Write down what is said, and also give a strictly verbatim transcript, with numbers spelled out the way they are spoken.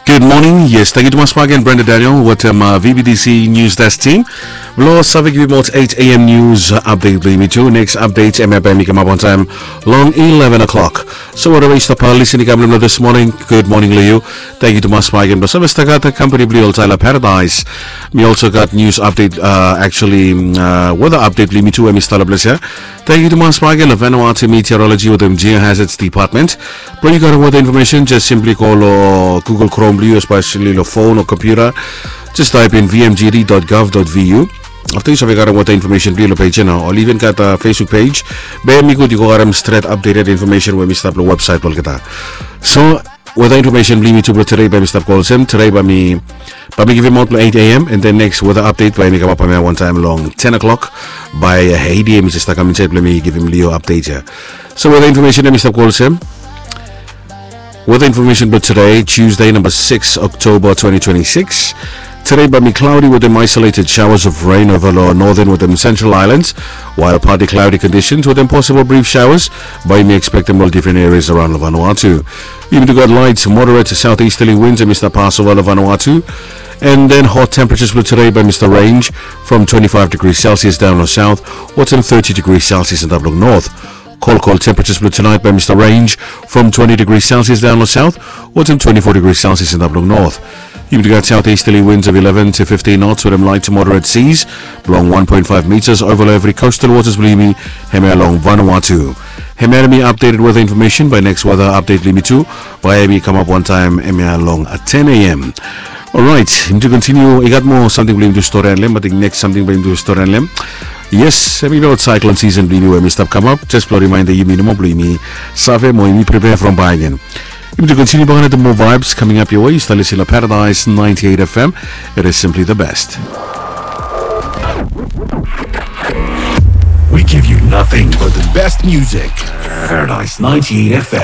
Gud moning. Yes, tangkiu tumas bak gen Brenda Daniel wetem, uh, V B T C News Desk team. Blo save givim ol eight A M news, uh, update blo yumi tu. Next update hemia bae mi kamap wantaem long eleven o'clock. So whatever yu stap, uh, listening kam long this morning, gud moning lo yu. Tangkiu tumas bak gen blo save stap gat, uh, company blo yu oltaem lo Paradise. Mi also gat news update, uh, actually, mm, uh, weather update blo yumi tu, hemi stap lo ples ia. Tangkiu tumas bak gen lo Vanuatu Meteorology wetem Geohazards Department. Blo yu gat weather information, just simply go lo Google Chrome blo yu, especially lo phone o computer. Just type in V M G D dot gov dot V U. Afta yu save gat weather information blo yu lo page ia nao, o even gat, uh, Facebook page. Be hemi gud yu go gat stret updated information we hemi stap lo website blo olgeta. So, weather information blo yumi tu blo tede bae mi stap go olsem. Tede bae mi, bae mi givim aot lo eight A M, and then next weather update bae mi kamap hemia wantaem long ten o'clock. Bae, uh, eight A M mi jes stap kam insaed blo mi givim lo yu update ia. So weather information hemi stap go olsem. Weather information blo tede, Tuesday, number six October twenty twenty-six. Tede bae mi cloudy wetem isolated showers of rain ova lo northern wetem central islands, while partly cloudy conditions wetem possible brief showers bae yumi ekspektem lo ol different areas around lo Vanuatu. Yumi tu gat light to moderate southeasterly winds hemi stap pas ova lo Vanuatu. And then hot temperatures blo tede bae mi stap range from twenty-five degrees Celsius daon lo south wetem thirty degrees Celsius antap lo north. Cold, cold temperatures blo tonight bae mi stap range from twenty degrees Celsius daon lo south wetem twenty-four degrees Celsius antap lo north. Yumi tu gat southeasterly winds of eleven to fifteen knots wetem light to moderate seas blo one point five meters ova lo evri coastal waters blo yumi hemia long Vanuatu. Hemia hemi updated weather information. Bae next weather update blo yumi tu bae hemi kamap wantaem hemia long, uh, ten A M. Alright, yumi tu continue. I gat moa samting blo yumi tu stori long hem, ating next samting blo yumi tu stori long hem. Yes, hemi lo cyclone season blo yumi we hemi stap kamap. Just blo reminder yumi nomo blo yumi save mo yumi prepare from bae gen. Yumi tu continue bak gen wetem moa vibes coming up your way. Yu stap listening lo Paradise ninety-eight F M. It is simply the best. We give you nothing but the best music. Paradise ninety-eight F M.